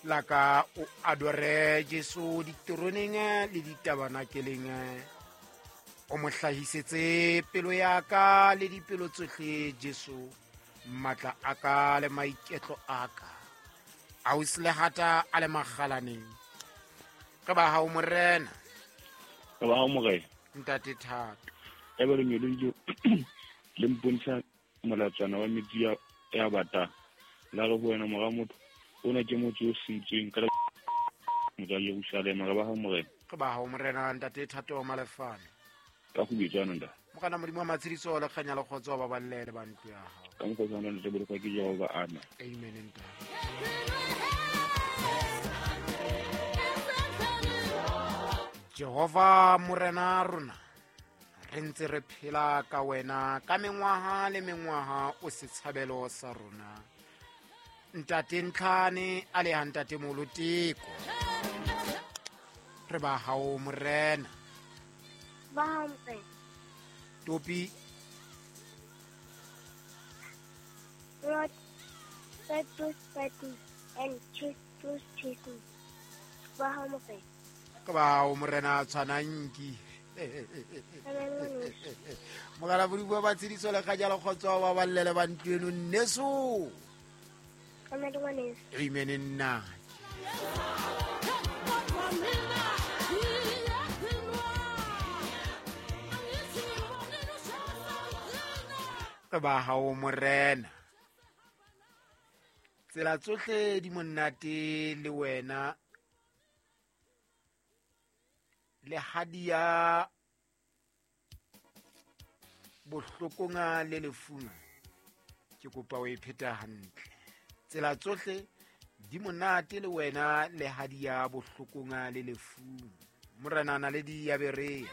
La ka o adore Jesu diteroneng le ditabanakeleng. O mo hlahisetse pelo ya ka le dipelo tsohle Jesu, matla a ka le maiketlo a ka. Ausi Lehata a le makgalaneng. Re ba hao morena. Re ba hao morena. Ntate Thato. E ba lengeloi le mpontsha molatswana wa metsi ya batang. La re ho wena mora motho, ona ke motse o sentsweng ka motse wa Jerusalema. Re ba hao morena. Re ba hao morena ntate Thato wa Malefane. Ka go bitsana nda. Morena Modimo wa matshediso le kganya le kgotso ba balle le ba ntlo ya hao. Ka mokgwa o tshwanang le bolokwa ke Jehova, amen. Amen ntate. Jehova morena rona, re ntse re phela ka wena ka mengwaha le mengwaha, o setshabelo sa rona. Ntate Ntlhane a le ha ntate Moloteko. Re ba hao morena. Ba hao morena. Topi. Lord, bread to spread me and cheese to cheese me. Ba hao morena. Ke ba hao morena tshwananki. Mogala Modimo wa matshediso le kganya le kgotso ba ballele ba ntlo eno nneso. Amen nna. Re ba hao morena. Tsela tsohle di monate le wena. Le hadia bohlokonga le lefunga. Ke kopa o e pheta hantle. Tsela tsohle di monate le wena le hadia bohlokonga le lefung. Morena Naledi ya Berea.